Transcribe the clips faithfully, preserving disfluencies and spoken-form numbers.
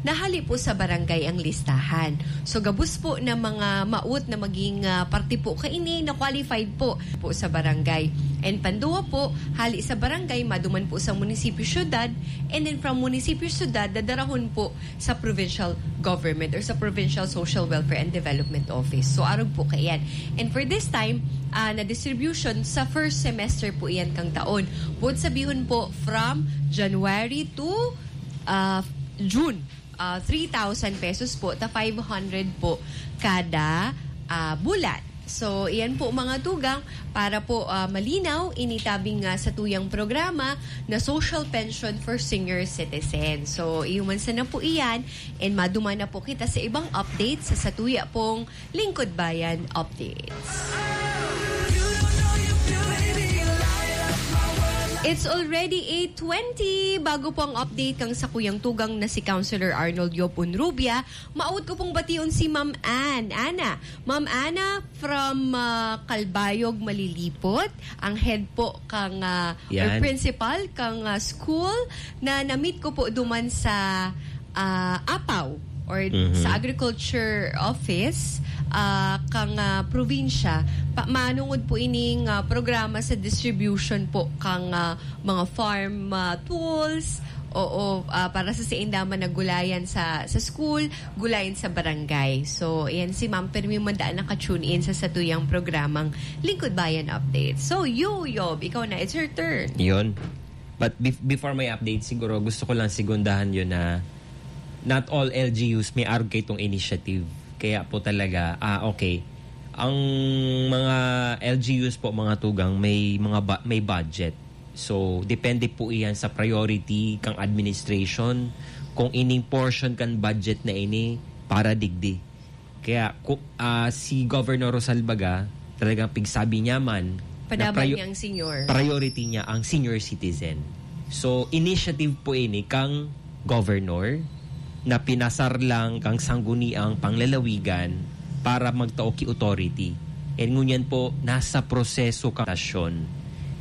na hali po sa barangay ang listahan. So, gabos po na mga maot na maging, ah, parte po kaini na qualified po, po sa barangay. And panduwa po, hali sa barangay, maduman po sa munisipyo, syudad, and then from munisipyo, syudad, dadarahon po sa provincial government or sa Provincial Social Welfare and Development Office. So, arog po kaiyan. And for this time, ah, na distribution sa first semester po iyan kang taon. Buot sabihon po, from January to, ah, June, ah, three thousand pesos po, ta five hundred po kada, ah, bulan. So, iyan po mga tugang, para po, ah, malinaw, initabing nga sa tuyang programa na social pension for senior citizens. So, iyo man sana po iyan, and maduman na po kita sa ibang updates sa, sa tuya pong Lingkod Bayan Updates. It's already eight twenty. Bago po ang update kang sakuyang tugang na si Councilor Arnold Yob Unrubia, maot ko pong bation si Ma'am Ann. Ana, Ma'am Ana from, ah, Calbayog, Malilipot, ang head po kang, ah, or Yan. principal kang, ah, school na na-meet ko po duman sa, ah, Apaw or Mhm. sa agriculture office, ah, kang, ah, probinsya. Pa-, manungod po ining, ah, programa sa distribution po kang, ah, mga farm, ah, tools, oo, ah, para sa sainda man naggulayan sa, sa school, gulayan sa barangay. So, ayan si Ma'am, permi man daan naka-tune in sa satuyang programang Lingkod Bayan Update. So, you, Yob, ikaw na, it's your turn. Yun. But bef-, before my update, siguro gusto ko lang segundahan yun na not all L G Us may arog kay itong initiative. Kaya po talaga, ah, okay. Ang mga L G Us po, mga tugang, may mga ba-, may budget. So, depende po iyan sa priority kang administration, kung ining portion kan budget na ini para digdi. Kaya, ku-, ah, si Governor Rosalbaga, talagang pigsabi niya man, na Padaban priyo-, niya ang senior. priority niya ang senior citizen. So, initiative po ini kang Governor na pinasar lang kang Sangguniang Panglalawigan para magtao ki authority. And ngunyan po, nasa proseso ka nasyon.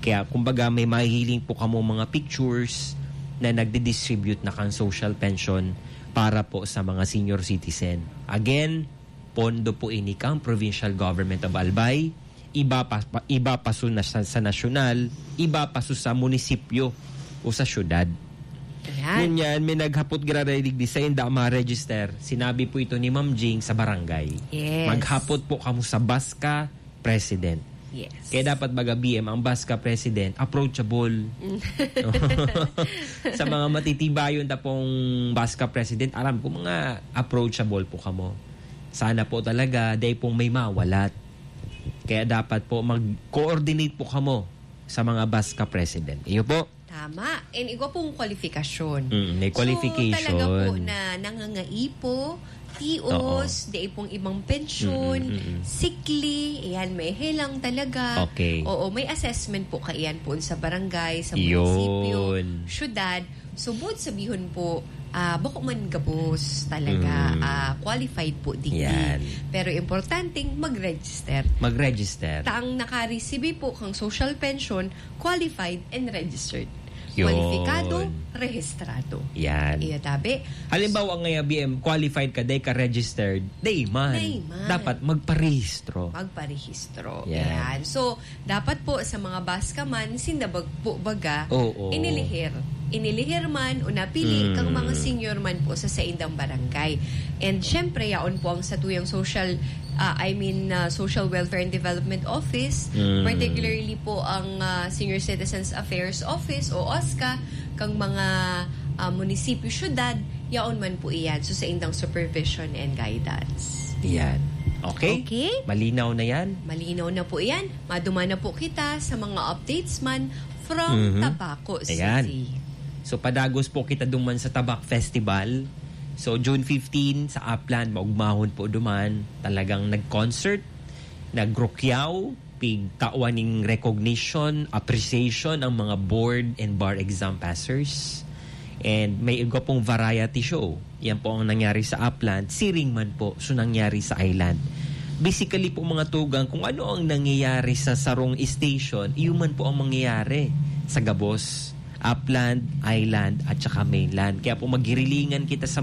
Kaya, kumbaga, may mahihiling po kamo mga pictures na nagdi-distribute na kang social pension para po sa mga senior citizen. Again, pondo po ini kang Provincial Government of Albay, iba pa, pa- iba pa su na, sa, sa nasyonal, iba pa su sa munisipyo o sa syudad. Ayan. Ngunyan, may naghapot giraray digdi sa inda ma-register. Sinabi po ito ni Ma'am Jing sa barangay. Yes. Maghapot po kamo sa BASCA President. Yes. Kaya dapat baga B M ang BASCA President, approachable. Sa mga matitibayon ta pong BASCA President, aram ko mga approachable po kamo. Sana po talaga, dai pong may mawalat. Kaya dapat po mag-coordinate po kamo sa mga BASCA President. Iyo po. Tama. And igwa pong kwalifikasyon. Mm, may So, qualification. talaga po na nangangaipo, tios, Oo. dai pong ibang pensyon, Mm, mm, mm. sikli, ayan, may helang talaga. Okay. Oo, may assessment po kaiyan po sa barangay, sa Yun. munisipyo, syudad. So, buot sabihon po, ah, bako man gabos talaga, Mm. ah, qualified po digdi. Yan. Pero importanteng mag-register. Mag-register. Ta ang nakaresibi po kang social pension, qualified and registered. Yun. Kwalipikado, rehistrado. Yan. Iya tabi. Halimbawa nga, B M, qualified ka, dai ka registered, dai man. Dai man. Dapat magparehistro. Magparehistro. Yan. Yan. So, dapat po sa mga BASCA man, sinda bag-, po baga, Oo. inilihir. Inilihir man o napili Mm. kang mga senior man po sa saindang barangay. And syempre, yaon po ang satuyang social, ah, I mean, ah, Social Welfare and Development Office, Mm. particularly po ang, ah, Senior Citizens Affairs Office o OSCA, kang mga, ah, munisipyo, syudad, yaon man po iyan. So, saindang supervision and guidance. Yan. Okay? Okay. Malinaw na yan? Malinaw na po iyan. Maduman na po kita sa mga updates man from Mhm. Tabaco Ayan. City. So, padagos po kita duman sa Tabak Festival. So, June fifteen sa Upland, maugmahon po duman. Talagang nag-concert, nagrukyaw, pigtawan ning recognition, appreciation ang mga board and bar exam passers. And may iba pong variety show. Yan po ang nangyari sa Upland, siring man po so nangyari sa Island. Basically po, mga tugang, kung ano ang nangyayari sa sarong station, iyon man po ang mangyayari sa gabos, Upland, Island, at saka Mainland. Kaya po, magirilingan kita sa